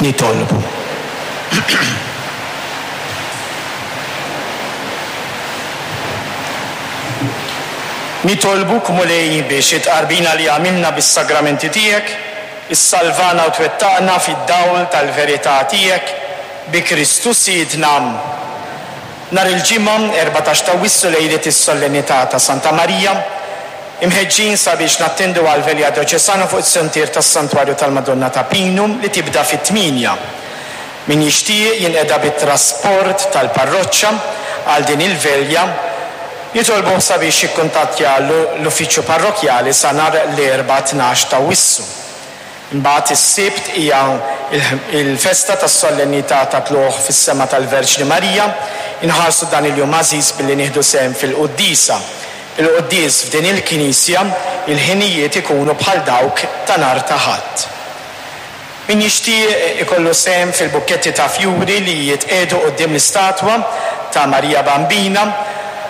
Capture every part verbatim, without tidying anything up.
Nitolbu. Nitolbuk, Mulej, biex it-tqarbina li għamilna bis-sagramenti tiegħek issalvana u twettaqna fid-dawl tal-verità tiegħek bi Kristu Sidna. Nhar il-Ġimgħa erbatax ta' Awwissu lejlet is-Solennità ta' Santa Marija, imħeġġin sabiex nattendu għal Velja Dioċesana fuq is-sentier tas-Santwarju tal-Madonna ta' Pinu li tibda fit-tmienja. Min jixtieq jinqeda bit-trasport tal-parroċċa għal din il-velja, jitolbuh sabiex jikkuntattja l-uffiċċju parrokjali sa nhar l-Erbgħa tnax ta' Awwissu. Imbagħad is-Sibt hija il-festa tas-solennità ta' tluq fis-sema tal-Verġni Marija. Inħarsu dan il-jum għażiż billi nieħdu sehem fil-quddiesa. Il-quddies f'din il-knisja il-ħinijiet ikunu bħal dawk ta' nhar ta' Ħadd. Min jixtieq ikollu sehem fil-bukketti ta' fjuri li jitqiegħdu quddiem l-istatwa ta' Marija Bambina,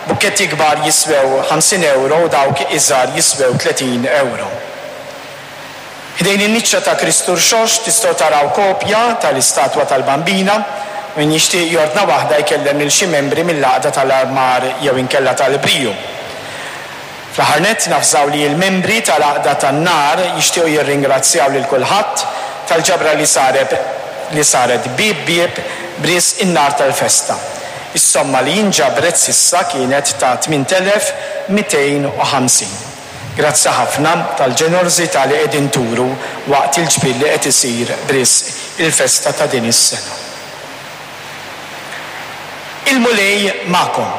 bukketti kbar jiswew ħamsin euro u dawk iżgħar jiswew tletin euro. Ħdejn in-niċċa ta' Kristu Rxoxt tistgħu taraw kopja tal-istatwa tal-Bambina. Min jixtieq jordna waħda jkellem lil xi membri mill-għaqda tal-armar jew inkella tal-briju. Fl-aħħar nett nafżaw li l-membri tal-għaqda tan-nar jixtiequ jirringrazzjaw lil kulħadd tal-ġabra li saret li saret bieb bieb b'risq in-nar tal-festa. Is-somma li inġabret s'issa kienet ta' tmien elef mitejn u ħamsin. Grazzi ħafna tal-ġenerożità li qegħdin turu waqt il-ġbir li qed isir b'risq il-festa ta' din is-sena. Il-Mulej magħkom.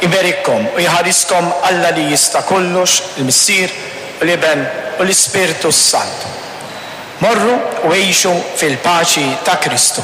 Iberikkom u jħariskom Alla li jista' kollox, il-Missier u l-Iben u l-Ispirtu s-Santu. Morru u għixu fil-paċi ta' Kristu.